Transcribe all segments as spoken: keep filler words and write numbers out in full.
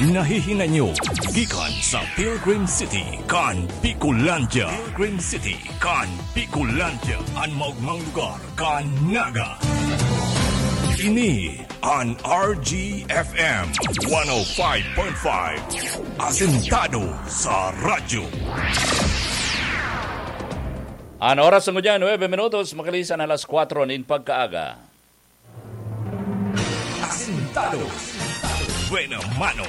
Nahihinanyo gikan sa Pilgrim City kan Bicolandia. Pilgrim City kan Bicolandia, an maogmang lugar kan Naga. Ini an R G F M one oh five point five, asentado sa radyo. An oras ngunyan, nuebe minutos makalisan alas kwatro nin pagkaaga. Asentado. Buena mano.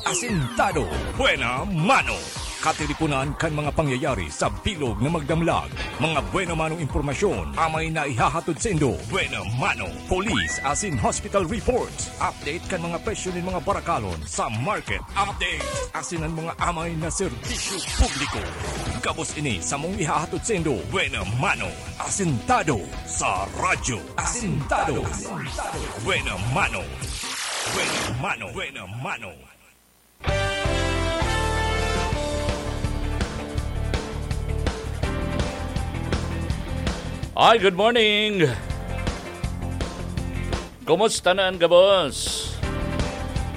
Asentado. Buena mano. Katiriponan kan mga pangyayari sa bilog na magdamlag. Mga buena manong impormasyon amay na ihahatod saindo. Buena mano. Police asin hospital reports. Update kan mga presyo nin mga barakalon sa market. Update asin an mga amay na serbisyo publiko. Gabos ini samong ihahatod saindo. Buena mano. Asentado sa radyo. Asentado. Buena mano. Buena mano. Buena mano. Ay, good morning. Kumusta na an gabos?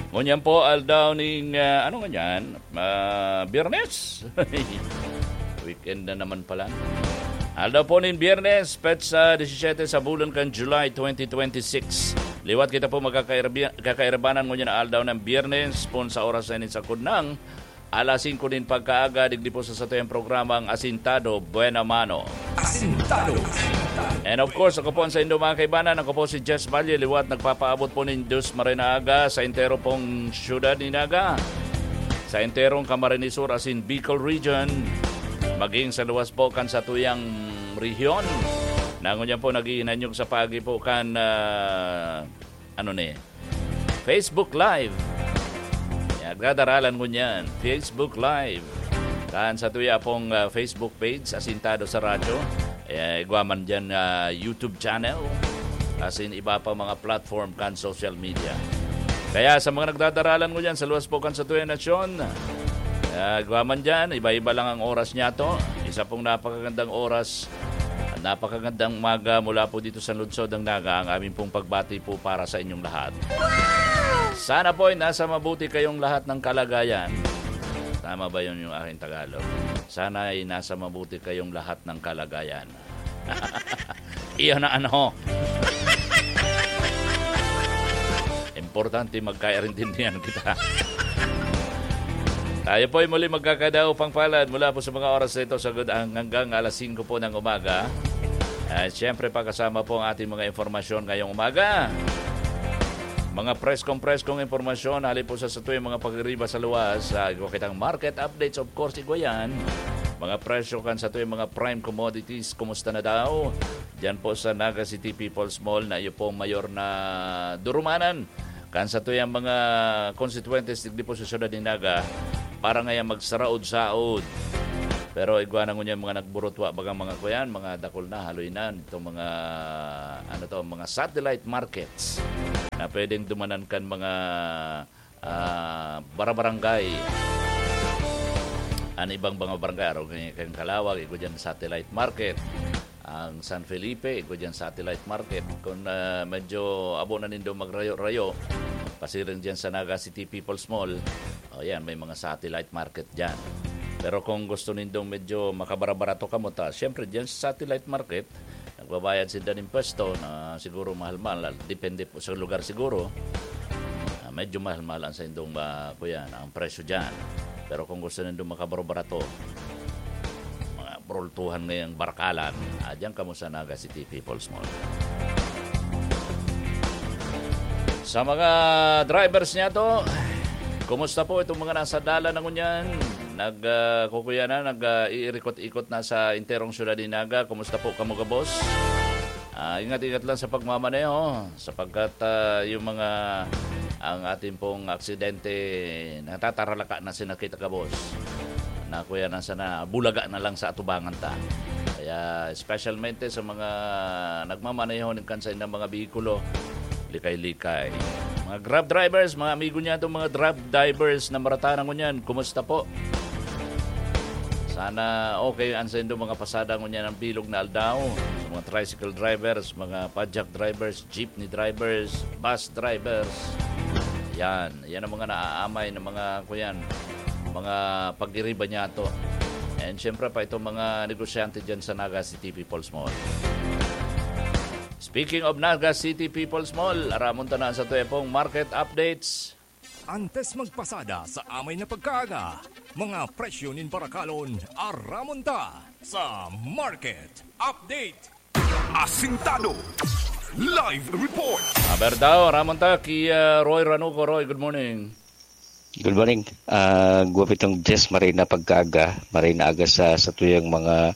Ngunyan po, aldaw ning, ah, ano ngunyan? Ah, Biyernes. Weekend na naman pala. Aldaw po nin Biyernes, petsa disisete sa bulan kan July twenty twenty-six. Liwat kita po magkakairbi-, kakairbanan ngunyan na aldaw ng Biyernes, pon sa oras na ini sa kudnang alas singko nin pagkaaga, digdi po sa satuyang programang Asintado Buena Mano. Asintado. And of course, ako po ang saindo, mga kaibanan. Ako po si Jess Valle, liwat nagpapaabot po nin Diyos Marhay na Aga sa entero pong syudad ni Naga, sa enterong Camarines Sur asin Bicol Region, maging sa luwas po kan satuyang rehiyon. Na ngunyan po naghihinanyog sa paagi po kan, ah, ano ni, Facebook Live. Yan, nagdadaralan ngunyan, Facebook Live. Kan satuya pong, ah, Facebook page, Asintado sa Radyo. Eh, igwa man dyan, ah, YouTube channel. Asin iba pa mga platform kan social media. Kaya sa mga nagdadaralan ngunyan sa luwas po kan satuyang nasyon, ah, igwa man dyan, iba-iba lang ang oras niyato. Isa pong napakagandang oras, napakagandang umaga mula po dito sa lungsod ng Naga, ang amin pong pagbati po para sa inyong lahat. Sana po ay nasa mabuti kayong lahat ng kalagayan. Tama ba yun yung aking Tagalog? Sana ay nasa mabuti kayong lahat ng kalagayan. Iyon na ano. Importante magkaintindihan kita. Tayo po ay muli magkakadaupang palad mula po sa mga oras na ito sa good ang hanggang alas singko po ng umaga. At siyempre, pakasama po ang ating mga impormasyon ngayong umaga. Mga preskong-preskong impormasyon hali po sa satuyang mga pagiriba sa luwas. Sa igwa kitang market updates, of course, igwa yan. Mga presyo kan satuyang mga prime commodities, kumusta na daw? Diyan po sa Naga City People's Mall na iyo pong mayor na durumanan kan satuyang mga konstituyentes digdi po sa siyudad ni Naga para ngayon magsaraod-saod. Pero igwa na ngunyan mga nagburutwa, bagang mga kuyan, mga dakul na, haloy na, itong mga, ano to, mga satellite markets na pwedeng dumanan kan mga, ah, barabarangay. An ibang mga barangay, araw kan Calauag, igwa dyan satellite market. Ang San Felipe, igwa dyan satellite market. Kung, ah, medyo abo na nindo magrayo-rayo, pasiring dyan sa Naga City People's Mall, o yan, may mga satellite market dyan. Pero kung gusto nindong medyo makabara-barato kamo ta, siyempre dyan sa satellite market, nagbabayad sinda nin pwesto na siguro mahal-mahal, depende po sa lugar siguro. Ah, medyo mahal-mahal ang saindong, ah, kuya, ang presyo dyan. Pero kung gusto nindong makabaro-barato, mga burultuhan ngayang barakalan, ah, diyan kamo sa Naga City People's Mall. Sa mga drivers niyato, kumusta po itong mga nasa dalan na ngunyan? Nag, ah, kukuya na, nag, ah, iirikot-ikot na sa enterong syudad ni Naga. Kumusta po kamo gabos? Ah, ingat-ingat lang sa pagmamaneho, sapagkat, ah, yung mga, ang ating pong aksidente, natataralaka na sina kita gabos. Na kuya na sana, bulaga na lang sa atubangan ta. Kaya, specialmente sa mga nagmamaneho nin kansa ng mga behikulo, likay-likay. Mga Grab drivers, mga amigo niya itong mga Grab drivers na maratanan ko niyan, kumusta po? Sana okay ang saindo mga pasada ngunyan ang bilog na aldaw. Sa mga tricycle drivers, mga padjak drivers, jeepney drivers, bus drivers. Yan, yan ang mga naaamay ng mga, kuyan, mga pagiriba niya to. And syempre pa itong mga negosyante dyan sa Naga City People's Mall. Speaking of Naga City People's Mall, aramon ta na sa tuyapong market updates. Antes magpasada sa amay na pagkaaga, mga presyo nin barakalon, aramon ta sa market update. Asintado. Live report. Aber daw, ramon ta ki ah, Roy Ranuco. Roy, good morning. Good morning. Ah, guwapitong Jess, maray na pagkaaga, maray na aga sa satuyang mga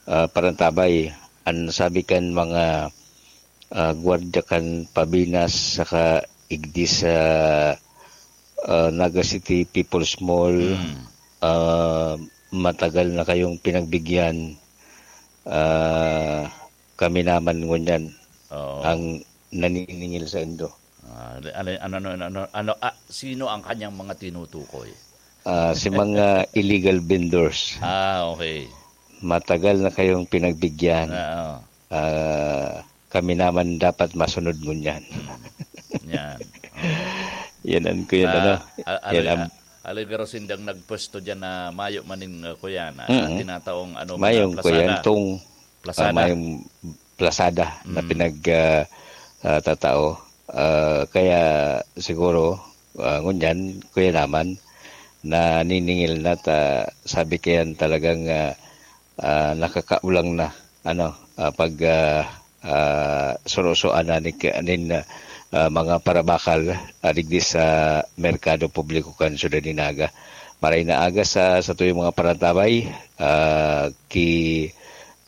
ah, parantabay. An sabi kan mga ah, gwardiya kan Pabinas saka igdi sa ah, Naga City People's Mall, ah, matagal na kayong pinagbigyan. Ah, kami naman ngunyan Oo. ang naniningil sa indo. Ah, ano, ano, ano, ano, ano, ano, ah, sino ang kanyang mga tinutukoy? Ah, si mga illegal vendors, Ah, okay. matagal na kayong pinagbigyan. Oo. Ah, kami naman dapat masunod ngunyan. Yan. Yan ang kuya, ano? Ah, al- Yan al- ang, Aligaro sindang nagpwesto dyan na mayo maning uh, kuya na Mm. tinataong ano, mayong mga kuya, plasada. itong Plasada. ah, mayong plasada na Mm. pinag ah, ah, tatao. Ah, kaya siguro, ah, ngunyan, kuya naman, naniningil na ta, sabi kayan talagang ah, ah, nakakaulang na ano ah, pag ah, ah, surusuan na ni, nin ah, mga parabakal ah, digdi sa merkado publiko kan syudad ni Naga. Maray na aga sa satuyang mga parantabay, ah, ki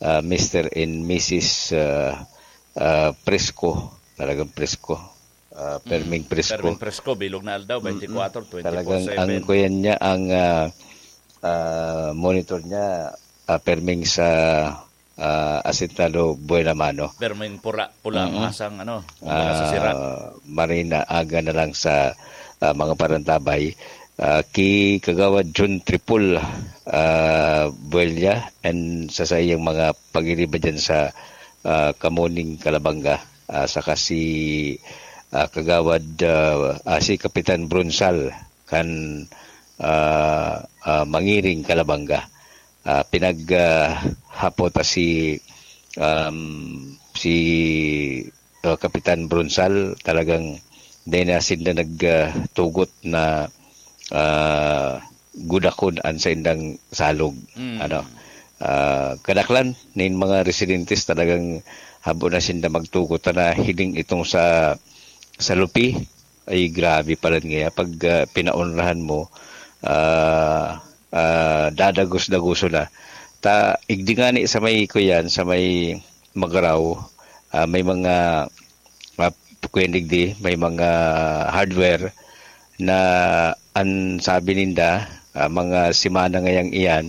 ah, Mister and Missus ah, ah, Presko. Talagang presko. Ah, perming presko. Perming presko, bilog na aldaw, twenty-four, Talagang ang twenty-four seven. Kuyan niya, ang ah, ah, monitor niya, ah, perming sa ah, Asentado Buena Mano. Perming pura, pula ang Mm. masang, ano, kumbaga sa sira. Ah, marina aga na lang sa ah, mga parantabay. Ah, ki Kagawad John Tripol, ah, Buelya, and sa saiyang mga pagiriba dyan sa ah, Kamuning Kalabanga, ah, saka si ah, Kagawad ah, ah, si Kapitan Bronsal kan ah, ah, Mangiring Kalabanga. Ah, pinag ah, hapot ta si um, si ah, Kapitan Bronsal, talagang dai na sinda nagtugot na ah, gudakon an saindang salog. Mm. Ano? Ah, kadaklan nin mga residentes talagang habo na sinda magtugot na hiling itong sa sa lupi. Ay, grabe pala nga pag ah, pinaonrahan mo, ah, ah, dadagos-dagoso na. Ta igdi ngani sa may kuyan, sa may Magaraw, ah, may mga ah, kuyan digdi, may mga hardware na an sabi ninda, ah, mga semana ngayang iyan,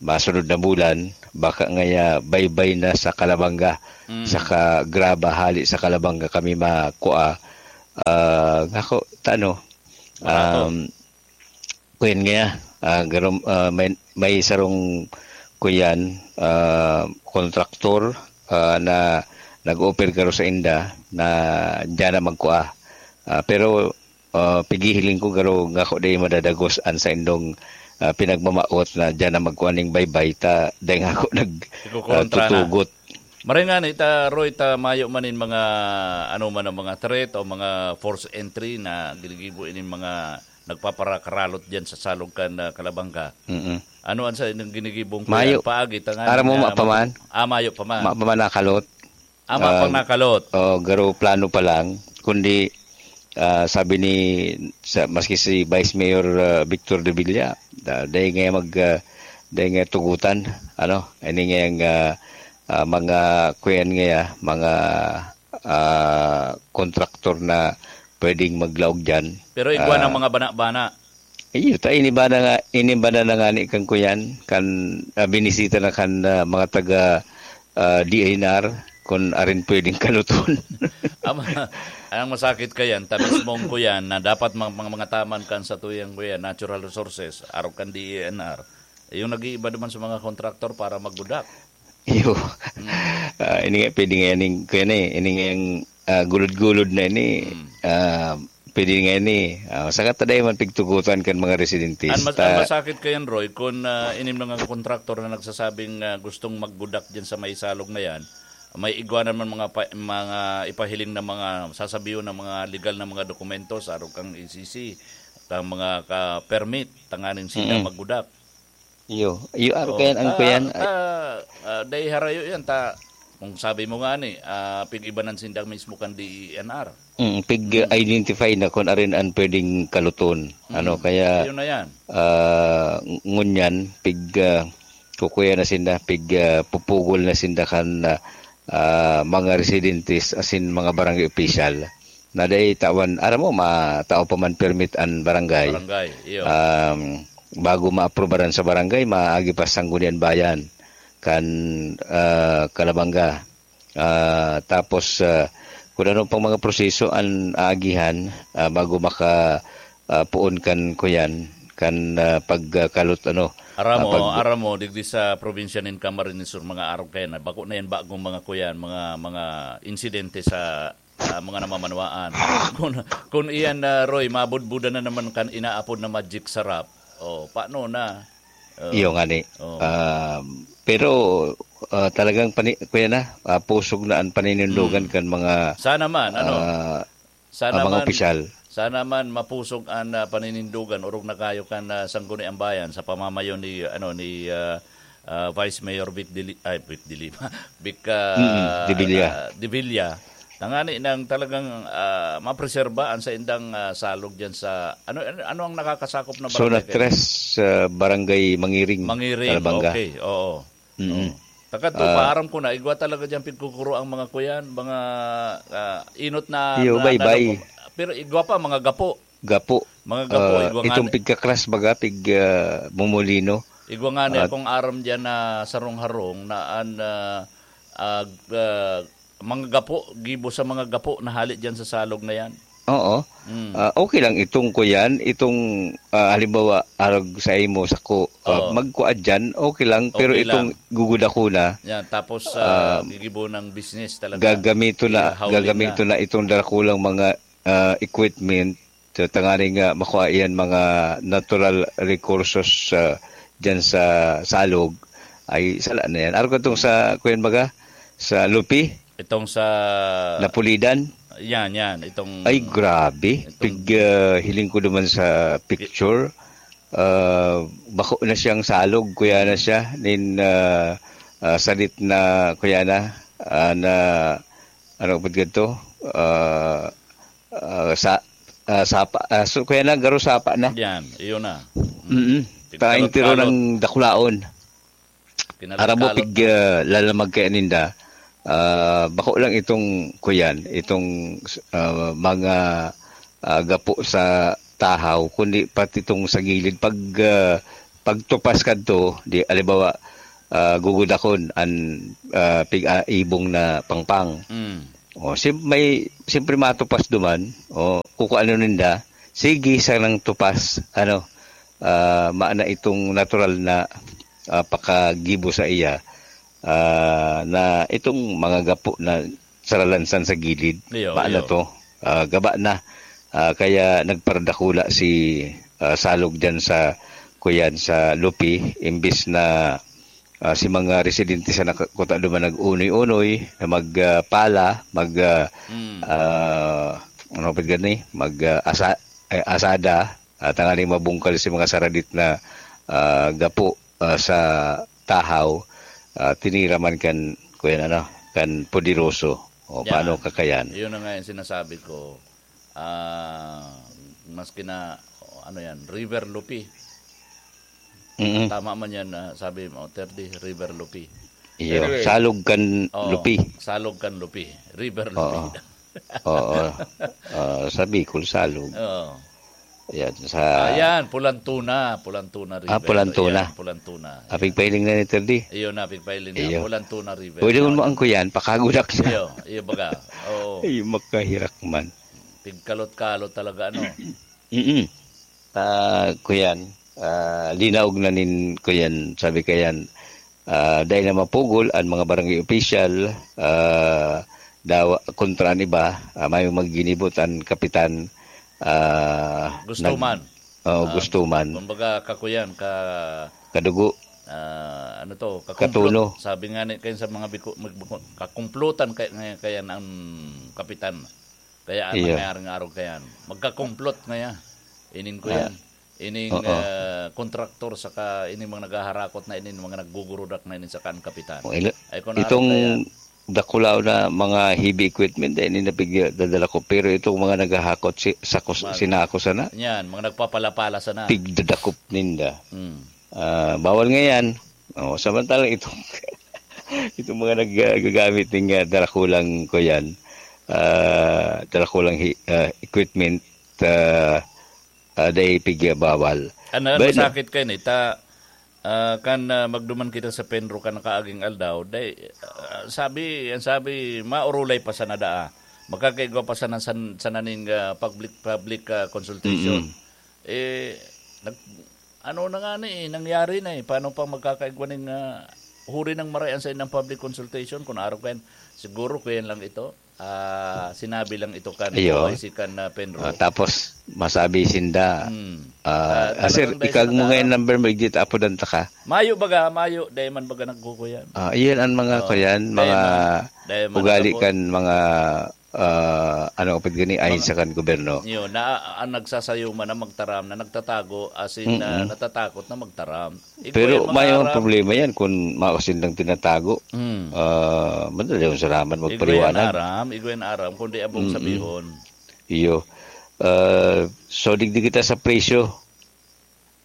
masunod na bulan, baka ngaya baybay na sa Kalabanga, Mm. saka graba hali sa Kalabanga kami makua. Ah, ngako, ta ano, Barato. um, kuyan nga, ah, garom, ah, may, may sarong kuyan, ah, kontraktor ah, na nag-offer garo sa inda na diyan na magkua. Ah, pero ah, pigihiling ko garo ngako dai madadagos an saindong ah, pinagmamaot na diyan na magkua ning baybay ta dai ngako nag ah, Ikukontra na. tutugot. Maray nga ni, ta, Roy, ta mayo man in mga, ano man ang mga threat o mga forced entry na ginigibo inin mga nagpaparakaralot diyan sa salog kan ah, Kalabanga. Mm-mm. Ano ang sa inyong ginigibong Mayo. Paagi ta nga Aram mo, nga mapaman? Ah, mayo pa man. Ma-, mapamanakalot. Ah, mapanakalot. Oh, garo plano pa lang, kundi ah, sabi ni sa, maski si Vice Mayor ah, Victor de Villa, da, dahil nga mag ah, dahil nga tugutan, ano, ini nga yung ah, ah, mga kuyan nga, mga ah, kontraktor na pwedeng maglaog diyan. Pero igwa Ah, ng mga bana-bana. Iyo, ta inibana nga, inibana na nga ni kan kuyan, kan ah, binisita na kan ah, mga taga ah, D N R, kung arin pwedeng kaluton. Ama, ang masakit kayan, ta mismong kuyan na dapat mga, mga, mga taman kan sa tuyang kuyan, natural resources, arog kan D E N R. Yung nag-iiba naman sa mga kontraktor para magbudak. Iyo. Ah, ini nga, pwede nga yaning, kuya na eh, ini nga yung ah, gulod-gulod na ini, ah, Pwede nga ini. Ah, saka ta dai man pigtugotan kan mga residentes. An mas-, Ta- an masakit kayan, Roy, kun, ah, ining mga kontraktor na nagsasabing, ah, gustong maggudak diyan sa may salog na yan, may igwa naman mga pa-, mga ipahiling na mga sasabihon na mga legal na mga dokumento sa arog kang E C C, at ang mga ka-permit, tanganing sila Mm. maggudak. Iyo, iyo, aro Oh, kayan ang ta-, kuyan, ay ta-, ah, dai harayo yan, ta-, kung sabi mo nga ni, ah, pig-ibanan sinda mismo kan D E N R. Mm, pig, Mm. identify na kun arin an pwedeng kaluton. Ano, Mm. kaya, Ayun na yan. ah, ng-, ngunyan, pig, ah, kukuya na sinda, pig, ah, pupugol na sinda kan, ah, ah, mga residentes, asin mga barangay opisyal. Na dai tawan, aram mo, ma-, tao pa man permit an barangay. Barangay, iyo. Um, bago maaprubaran sa barangay, maagi pa sa Sangguniang Bayan, kan, ah, Calabanga. Ah, tapos, ah, kung ano pang mga proseso an aagihan, ah, bago maka, ah, poon kan kuyan, kan, ah, pagkalot, ano, Aram ah, mo, pag- aram mo, digdi sa probinsya nin Camarines Sur, mga arog kayan na, bako na yan bagong mga kuyan, mga, mga insidente sa, ah, mga namamanwaan. Kung, kung iyan na, Roy, mabudbudan na naman kan inaapod na magic sarap, oh, paano na? Oh. Iyo nga ni. Oh. Um, pero, ah, talagang pani-, kuya na, ah, pusog na ang paninindogan Mm. kan mga, Sana man, ano? ah, Sana ang mga man, opisyal. Sana man mapusog an, ah, paninindogan, orog na kayo kan, ah, Sangguniang Bayan sa pamamayo ni, ano, ni, ah, ah, Vice Mayor Vic Dili-, ay, Vic Dilima, Vic, ah, Mm, Devilla. ah, Devilla. Tangani nang talagang, ah, mapreserba an saindang, ah, salog diyan sa, ano, ano, ano ang nakakasakop na Zona barangay kayo? Tres, ah, Barangay Mangiring, Mangiring, Calabanga. Okay, oo. Mm. Oo. Takadto, Ah. paaram ko na, igwa talaga diyan pigkukuro ang mga kuyan, mga, ah, inot na, Iyo, na baybay. Pero igwa pa, mga gapo. Gapo. Mga gapo, Ah, igwa nga itong ni- pigkakras baga, pig, ah, mumulino. Igwa nga ni Ah. akong aram diyan na sarong-harong na an, ah, ah, ah, mga gapo, gibo sa mga gapo na hali diyan sa salog na yan. Oo. Mm. Ah, okay lang itong kuyan, itong, ah, halimbawa, arog sa imo, sako, ah, Oo. magkuha dyan, okay lang, pero Okay itong lang. gugudakuna, Yan, tapos, ah, ah, gigibo ng business talaga. gagamito na, Ihawlin gagamito na. na itong dakulang mga, ah, equipment, sa tanganing, ah, makuha iyan mga natural resources, ah, dyan sa salog, ay sala na yan. Arog katong sa, kuyan baga, sa Lupi, Itong sa Napulidan. Yan, yan. Itong Ay, grabe. Itong Pig, ah, hiling ko naman sa picture. Ah, bako na siyang salog, kuya na siya. Nin, ah, ah, sadit na, kuya na, ah, na, ano ba ganito? Ah, ah, sa, ah, sapa, ah, so, kuya na, garo sapa na. Yan, iyon na. Mm-mm. Pigkalot-kalot. Taing tiro ng dakulaon. Kinalot-kalot Arabo pig, na. ah, lalamag kaya ninda. Ah, bako lang itong, kuyan, itong, ah, mga, ah, gapo sa tahaw, kundi pati itong sa gilid. Pag, ah, pagtupas kadto, di, alibawa, ah, gugudakon an, ah, pig-, ah, ibong na pangpang. Mm. O, sim-, may, siyempre matupas duman, o, kukuanon ninda, sige, sanang tupas, ano, ah, maana itong natural na, ah, pakagibo sa iya, ah, na itong mga gapo na saralansan sa gilid, Iyo, maana iyo. to, ah, gaba na. Ah, kaya nagparadakula si, ah, Salog diyan sa, kuyan, sa Lupi, imbis na, ah, si mga residente sa nakakuta duman nag-unoy-unoy na mag, ah, pala, mag, ah, Mm. ah, ano pa gani? Mag, ah, asa-, eh, asada, ah, tanganing mabungkal si mga saradit na, ah, gapo, ah, sa tahaw, ah, tinira man kan, kuyan, ano, kan poderoso. O, Yan. paano kakayan? Yun na nga yung sinasabi ko. Ah, maski na, ano yan, River Lupi. Mm. Tama man yan, ah, sabi mo, Terdi, River Lupi. Iyo, Pero, Salog kan Oo, Lupi. Salog kan Lupi. River Lupi. Oo. Oo. Ah, sa Bicol, Salog. Oo. Yan, sa Ayan, Pulantuna. Pulantuna River. Ah, Pulantuna. Ayan, Pulantuna. Ayan. Apigpailing na ni Terdi. Iyo na, apigpailing na. Iyo. Pulantuna River. Pwede mo Yan. ang kuyan, pakagudak na. Iyo, iyo baga. Oo. Ay, makahirak man. Pigkalot-kalot talaga, ano? Mm-mm. Ah, kuyan, ah, linaog na nin, kuyan, sabi kayan, ah, dai na mapugol an mga barangay opisyal, ah, dawa, kontra an iba, ah, may magginibot an kapitan, ah, Gusto nag- man. Oo, Ah, gusto man. Kumbaga, kakuyan, ka- Kadugo. Ah, ano to? Kakumplot. Katuno. Sabi nga ni, kayo sa mga Biko-, mag-, kakumplotan kaya, kaya, kaya ang kapitan. Kaya ang Iyo. nangyayari nga araw kayan. Magkakumplot ngaya. Ining ko Ah. yan. Ining, Oo. ah, kontraktor saka ining mga naghaharakot na ining mga naggugurudak na ining saka ang kapitan. O, ila- Ay, kung itong araw kaya. Dakulaw na mga heavy equipment, eh, ini napig-, dadala ko. Pero itong mga naghahakot si-, sa kus-, Mal- sinako sana, Yan, mga nagpapalapala sana. Pigdadakop ninda. Mm. Ah, bawal nga yan. Oh, samantalang itong, itong mga naggagamit ng, ah, darakulang ko yan, ah, darakulang hi-, ah, equipment, ah, ah, dai pig-, bawal. Ano, But, masakit kayo ni? Ta, ah, kan, ah, magduman kita sa Penro kan nakaaging aldaw, dai, ah, sabi, ang sabi, maurulay pa sana daa. Makakaigwa pa sana san, sana ning, ah, public, public, ah, consultation. Mm-mm. Eh, nag-, ano na nga ni, eh, nangyari na eh. Paano pa magkakaigwa ning, ah, huri ng maray ang sa inang public consultation? Kung araw kayan, siguro kayan lang ito. Ah, sinabi lang ito kan Iyo. O I C kan, ah, Penro. Ah, tapos, masabi sinda, Hmm. ah, Ah, ah, sir, talagang dahil ikag sa mo nga yung nakaarap. Number mo, igdit, apodan ta ka. Mayo baga, mayo, dahil man baga nagkukuyan. Ah, iyan ang mga Oo. kuyan, Dahil mga man, dahil man ugali nagkapo- kan mga, ah, ano, kapit gani, ayon Mga sa kan gobyerno. Yun, na, ang nagsasayo man na magtaram, na nagtatago, as in, Mm-mm. ah, natatakot na magtaram. Igwa Pero yung mga may mga harap. problema yan kung maos silang tinatago. Hmm. Ah, madali yung saraman Igwa yan magpaliwanag. aram, igwa yan aram, kundi abong Mm-mm. sabihon. Iyo. Ah, so, digdi kita sa presyo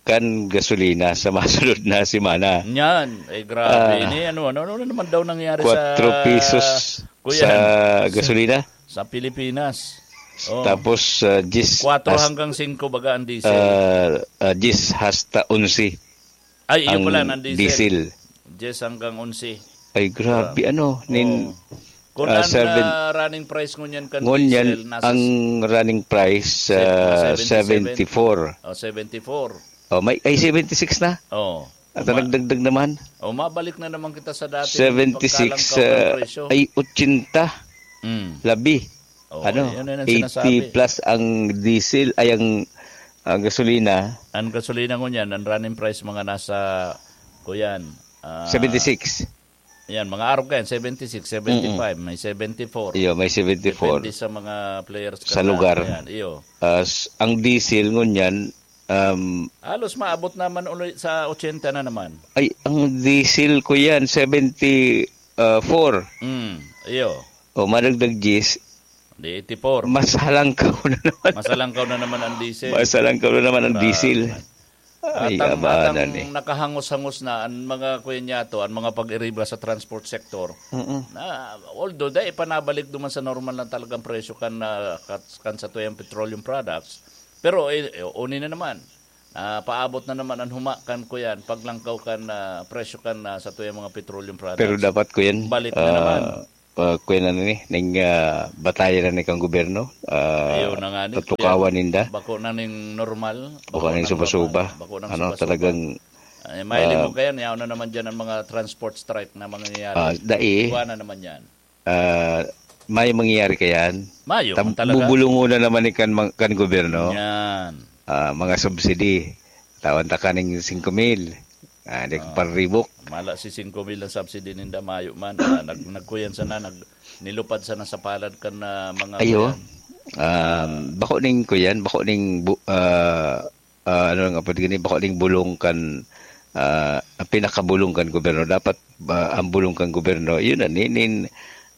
kan gasolina sa masunod na semana. Yan. Eh, grabe Ah, ni. Ano, ano, ano naman daw nangyari sa kwatro pesos Kuya sa Han? gasolina. Sa Pilipinas. Oh. Tapos, ah, diyes Kwatro has-, hanggang singko baga ang diesel. ah, ah, diyes hasta onse Ay, iyo ang pala, ang diesel. diesel. Diyes hanggang onse. Ay, grabe, Ah. ano, nin-, Oo. Kung ah, ang, seven ah, running price ngunyan kan ngunyan, diesel, nasa ang s-, running price, sev-, ah, ah, seventy-seven. seventy-four. Oh, seventy-four. Oh, may, ay, seventy-six na? Oo. At Ma-, nagdagdag naman. Oh, mabalik na naman kita sa dati, seventy-six, pagkalangkaw ng ah, presyo. Ay, ochenta. Mm. Labi. Oh, Ano? yun, yun ang Eighty sinasabi. plus ang diesel, ay, ang, ang gasolina. Ang gasolina ngunyan, ang running price mga nasa, kuyan, ah, Seventy-six. Yan, mga arog yan, seventy-six, seventy-five, Mm-mm. may seventy-four. Iyo, may seventy-four. Depende sa mga players Sa kan lugar. Yan, iyo. Ah, s-, ang diesel ngunyan, um, Halos maabot naman ulit sa ochenta na naman. Ay, ang diesel ko yan, seventy-four. Mm, iyo. O, madagdag diyes, Di eighty-four. Mas halangkaw na naman. Mas halangkaw na naman ang diesel. Mas halangkaw na naman ang Grabe. diesel. Ay, Atang, abana atang ni. nakahangos-hangos na ang mga kuya niya to, ang mga pag-iriba sa transport sector. Mm-mm. Na, although, dai ipanabalik duman sa normal na talagang presyo kan, ah, kat-, kan sa tuyang petroleum products. Pero, eh, eh, uni na naman. Ah, paabot na naman ang huma kan kuyan, paglangkaw kan, ah, presyo kan, ah, sa tuyang mga petroleum products. Pero dapat, kuyan, Balik na ah, naman. ah, kuyan na ni, ning, ah, batayan na ni kang gobyerno, ah, Ayaw na nga ni, tutukawan kuyan. ninda. Bako na ning normal, Bako bako na ning nang suba-suba. normal, bako nang Ano, suba-suba. talagang, Ay, mahiling ah, mo kaya, niyaw na naman dyan ang mga transport strike na mangyayari. ah, dai. Iwa na naman yan. Ah, may mangyayari kayan. Mayo, Tam-, kung talaga. bubulungon na naman ni kan, kan gobyerno. Yan. Ah, mga subsidy. Tawan ta kaning singko mil. Ah, di Oo. paribok. Mala si singko mil na subsidy ninda, mayo man. Ah, nag-, nagkuyan sana, nag-, nilupad sana sa palad kan, ah, mga Ayo. kuyan. Um, bako ning kuyan, bako ning bu-, ah, ah, ano nga pwede gani, bako ning bulong kan, ah, pinakabulong kan gobyerno. Dapat, ah, ang bulong kan gobyerno, yun na, nin, nin,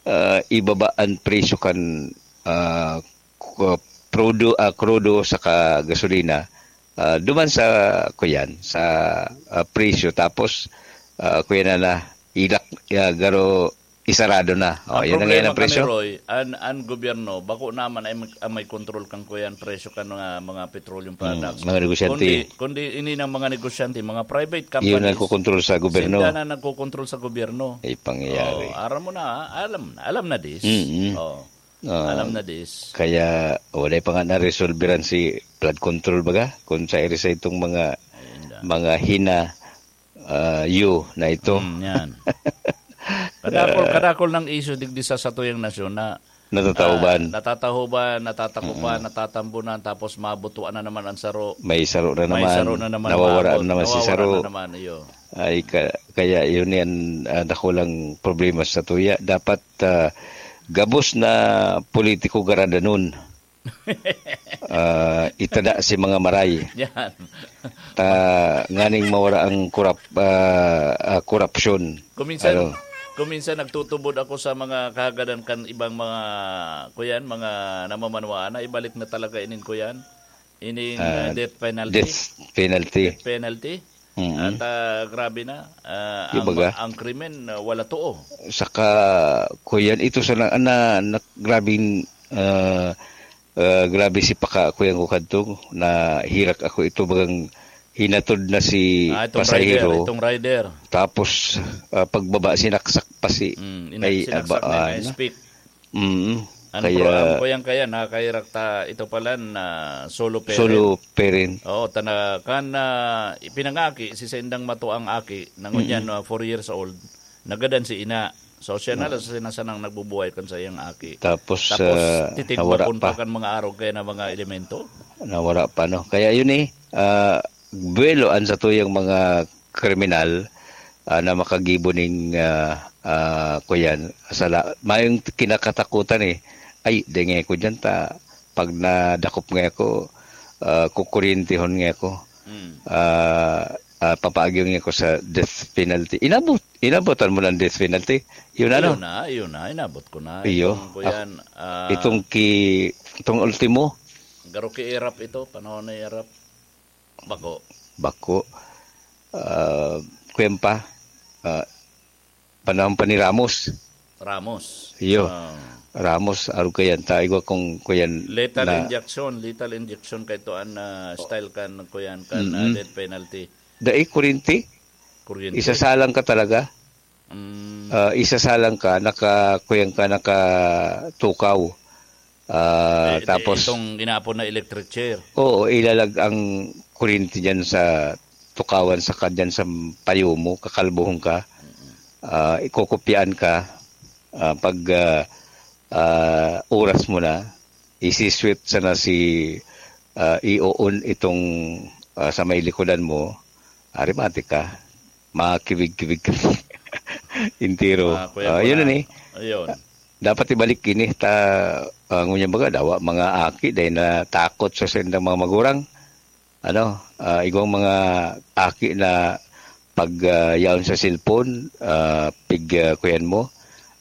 ah, ibaba ang presyo kan, ah, ku-, produ-, ah, krudo saka gasolina, ah, duman sa, kuyan, sa, ah, presyo. Tapos, ah, kuyan na na, ilak-, ah, garo, isarado na. O, Ang yan na ngayon problema ang presyo. kami, Roy, an, an gobyerno, bako naman ay mag-, ang may kontrol kan kuyan, presyo kan mga, mga petroleum Mm, products. mga negosyante. Kundi, kundi ini ng mga negosyante, mga private Yun companies, ang kukontrol sa gobyerno. sila na nagkokontrol sa gobyerno. Ay, pangyayari. Oh, aram mo na, ah, alam, alam na this. Mm-mm. Oh. Ah, Alam na this. kaya wala pa nga naresolveran si flood control baga, kung sa iri sa itong mga, Ayun na. mga hina, ah, yu na ito. Mm, yan. Kadakol, Ah. kadakol ng issue digdi sa satuyang nasyon na Natatahuban. Ah, natatahuban, natatakupan, Mm-mm. natatambunan, tapos mabutuan na naman ang saro. May saro na May naman. saro na naman Nawawara umaabot. na naman si Nawawara saro. na naman, iyo. Ay, ka- kaya yun yan, ah, dakulang problema sa tuya. Dapat, ah, gabos na politiko garadanon. Ah, itada si mga maray. Yan. Ta, nganing mawara ang korap-, ah, ah, korupsyon. Kuminsan, Ano? kuminsan nagtutubod ako sa mga kahagadan kan ibang mga, kuyan, mga namamanwaan na ibalik na talaga inin, kuyan, ining, Ah, ah, death penalty. death penalty. Death penalty. Mm. At, ah, grabe na, ah, Di ang, baga? ang krimen, ah, wala too. Saka, kuyan, ito sa na, na, na grabing, ah, ah, grabe si paka, kuyan ko kadto, na hirak ako ito, bagang hinatod na si Ah, itong pasahero. rider, itong rider. Tapos, ah, pagbaba, sinaksak pa si, Mm, ina-, ay, sinaksak aba, na yung ah, na. speak. Mm. Ang Kaya pro-, ang kuyang kaya, nakakahirak ta, ito pala na solo parent. Solo parent. Oo, tana-, kan, ah, ipinangaki, si saindang mato ang aki, na ngunyan, Mm-mm. ah, four years old, nagadan si ina. So, siya na Mm. lang sa sinasanang nagbubuhay kan sa iyang aki. Tapos, Tapos, ah, titigbakon nawara pa pa. kan mga arog kaya na mga elemento. Nawara pa, no? Kaya yun eh, ah, buwelo an satuyang mga kriminal, ah, na makagibo ning, ah, ah, kuyan, sala. Mayong kinakatakutan eh. Ay, denge ko dyan ta, pag nadakop nga ako, ah, kukuryentehon nga ako. Mm. Ah, ah, papaagyo nga ako sa death penalty. Inabot, inabotan mo ng death penalty. Yun ano? Yun na, yun na, inabot ko na. Iyo. Itong kuyan, Ah, ah, itong ki-, itong ultimo. Garo ki Erap ito, panahon na Erap. Bako. Bako. Ah, kuyan pa. Ah, panahon pa ni Ramos. Ramos. Iyo. Ah. Ramos, arog kayan. Ta, igwa kung kuyan Lethal na injection, lethal injection kay to an, ah, style kan, kuyan, kan, ah, Mm-mm. death penalty. Dai, kurinti. Kuryente. Isasalang ka talaga. Mm. Ah, isasalang ka, naka, kuyan ka, nakatukaw. Ah, Eh, tapos itong inaapod na electric chair. Oo, ilalag ang kuryente dyan sa tukawan sa kadyan sa payo mo, kakalbuhon ka. Mm-mm. Ah, ikukupyaan ka. Ah, pag, ah, ah, oras mo na, isi-sweep sana si, ah, i-on itong, ah, sa may likodan mo, aremate ka. Makiwig-kiwig ka. Entero. Ah, kuya Ah, ko yun na. na ni. Ayun. Dapat ibalik ini ta, ah, ngunyan baga, dawa mga aki, dahil natakot sa sendang mga magurang. Ano, ah, igwang mga aki na pag, ah, yaon sa cellphone, ah, pig, ah, kuyan mo,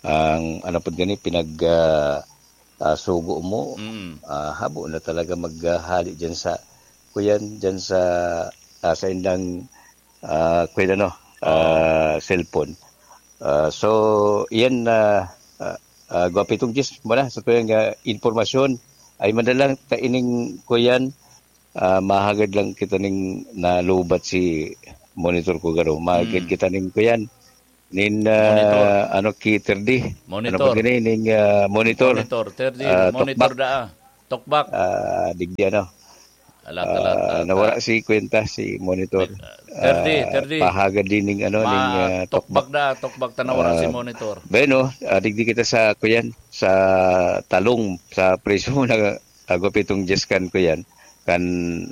ang ano pod gani, pinag, ah, ah, sugo mo, Mm. ah, habo na talaga maghali dyan sa, kuyan, dyan sa, ah, sa indang, ah, kuyan ano, Oo. ah, cellphone. Ah, so, yan na, ah, ah, Gwapitong Jis, muna sa tuyang, ah, informasyon, ay madalang ta ining, kuyan, ah, mahagad lang kita ning nalubat si monitor ko garo. Mahagad Mm. kita ning, kuyan, nin, ah, Monitor. ano, ki thirty. Ano Monitor. ba gini? Ning, ah, monitor. Monitor, thirty, Ah, monitor tokbak. daa. Tokbak. Ah, digdi ano. Alat, alat, Ah, alat, nawara ah. si kwenta, si monitor. May, ah, thirty, Ah, thirty. pahagad din ning ano, Ma-, ning, ah, tokbak tokbak. daa, tokbak, ta nawara si Ah, monitor. Bueno, ah, digdi kita sa, kuyan, sa talong, sa presyo mo na, ah, Gwapitong Jis kan, kuyan. Kan,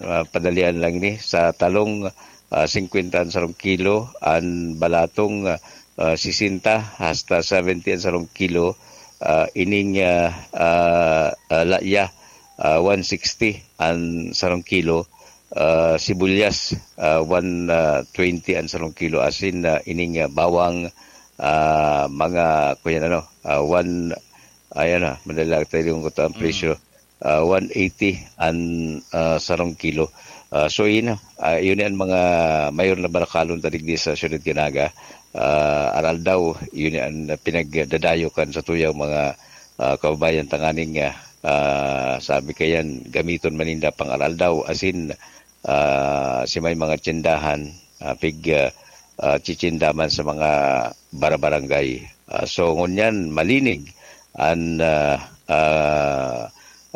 ah, padalian lang ni, sa talong, ah, singkwenta an sarong kilo, an balatong, ah, ah, sesenta hasta seventy an sarong kilo, ah, ining, ah, ah, ah, laya, ah, one sixty an sarong kilo, ah, sibuyas, ah, one, ah, twenty an sarong kilo, asin, ah, ining, ah, bawang, ah, mga, kuyan ano, ah, one, ayan na, madala tayo yung kuto ang Mm. presyo. Ah, one eighty an, ah, sarong kilo. Ah, so, yun na. Ah, yun ang mga mayor na barakalon ta digdi sa Siyudad kan Naga. Ah, aral daw, yun ang pinagdadayo kan sa tuyang mga, ah, kababayan tanganing, ah, ah, sabi kayan, gamiton maninda pang aral daw, asin, ah, si may mga tsindahan, ah, pig, ah, ah, tsitsindaman sa mga barabarangay. Ah, so, ngunyan, malinig an, ah, ah,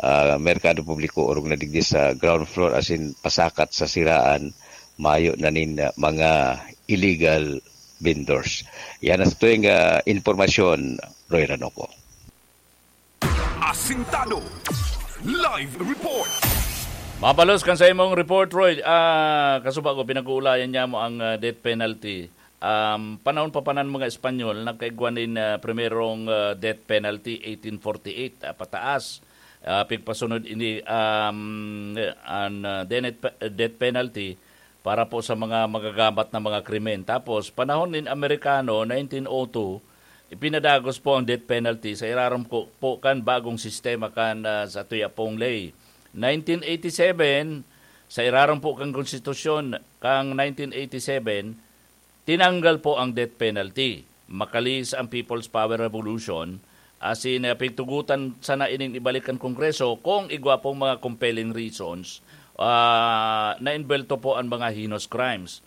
ah, merkado publiko orog na digdi sa ground floor, asin pasakat sa siraan, mayo na nin, ah, mga illegal vendors. Yan ang sa tuwing, ah, impormasyon, Roy Ranoco. Asintado. Live report. Mabalos kan sa imong report, Roy. Ah, kasuba ko, pinag-uulayan niya mo ang, ah, death penalty. Um, panahon pa panan mga Espanyol, nagkaigwa nin, ah, primerong, ah, death penalty, eighteen forty-eight, ah, pataas. Ah, pigpasunod ini, um, an, ah, denet-, death penalty para po sa mga magagabat na mga krimen. Tapos, panahon nin Amerikano, nineteen oh two, ipinadagos po ang death penalty sa irarom ko, po kan bagong sistema kan, ah, sa tuyapong ley. Nineteen eighty-seven, sa irarom po kan konstitusyon kang nineteen eighty-seven, tinanggal po ang death penalty. Makalihis ang People's Power Revolution, asin, ah, pigtugutan sana ining ibalik kan Kongreso kung igwa pong mga compelling reasons, ah, na envuelto po ang mga heinous crimes.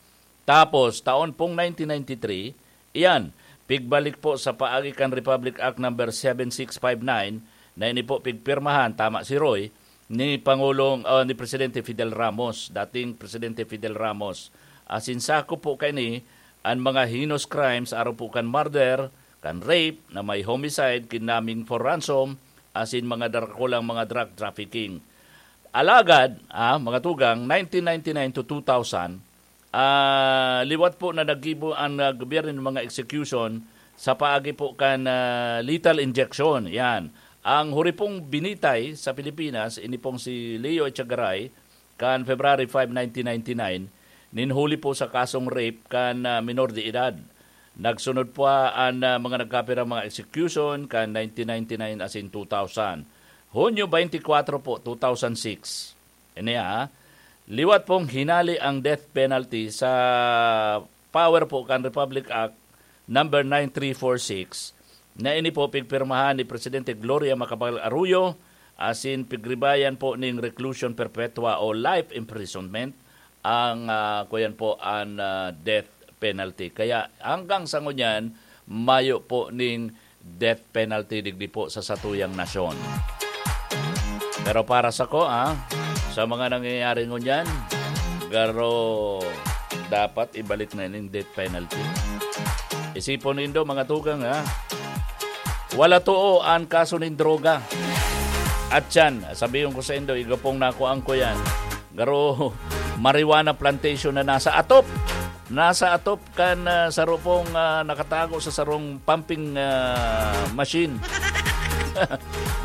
Tapos, taon pong nineteen ninety-three, iyan, pigbalik po sa paagi kan Republic Act Number seven six five nine, na ini po pigpirmahan, tama si Roy, ni Pangulong, ah, ni Presidente Fidel Ramos, dating Presidente Fidel Ramos. Asin sakop po kaini an mga heinous crimes, arog po kan murder, kan rape, na may homicide, kidnapping for ransom, asin mga darakulang mga drug trafficking. Alagad, ah, mga tugang, nineteen ninety-nine to two thousand, ah, liwat po na naggibo ang, ah, gobyerno ng mga execution sa paagi po kan, ah, lethal injection. Yan. Ang huri pong binitay sa Pilipinas, ini pong si Leo Echagaray, kan February five, nineteen ninety-nine, ninhuli po sa kasong rape kan, ah, minor de edad. Nagsunod po an, ah, mga nagkapirang mga execution kan nineteen ninety-nine asin two thousand. Hunyo twenty-four po, two thousand six. Ini, ah, liwat pong hinali ang death penalty sa power po kan Republic Act number nine three four six, na ini po pigpirmahan ni Presidente Gloria Macapagal Arroyo, asin pigribayan po ning reclusion perpetua o life imprisonment ang, ah, kuyan po an, ah, death penalty. Kaya hanggang sa ngunyan, mayo po ning death penalty digdi po sa satuyang nasyon. Pero para sa ko, ah, sa mga nangyayari ngunyan, garo dapat ibalik na ning death penalty. Isipon nindo, mga tugang, ha? Wala too an kaso nin droga. At yan, sabihin ko sa indo, igapong nakuhaan ko yan. Garo, marijuana plantation na nasa atop. Nasa atop kan, ah, saro pong, ah, nakatago sa sarong pumping, ah, machine.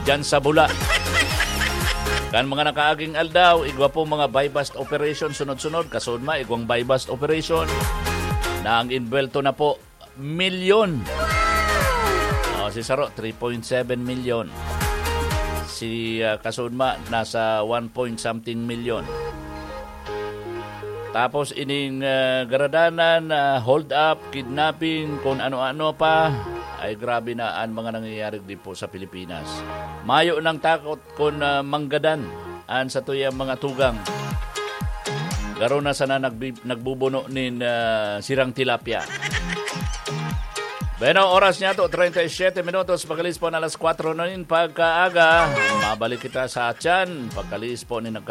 Diyan sa Bula. Kan mga nakaaging aldaw, igwa pong mga buy-bust operation sunod-sunod. Kasudma, igwang buy-bust operation na ang inbwelto na po, milyon. Oh, si saro, three point seven milyon. Si, ah, kasudma, nasa one point something milyon. Tapos ining, ah, garadanan, ah, hold up, kidnapping, kung ano-ano pa, ay grabe na ang mga nangyayari di po sa Pilipinas. Mayo nang takot kun, ah, manggadan an satuyang mga tugang. Garo na sana nagbi-, nagbubuno nin, ah, sirang tilapia. Bueno, oras niya to, treinta y siete minutos, pag-alis po na alas kwatro na nin pagkaaga. Mabalik kita sa atyan, pag-alis po ni nagka-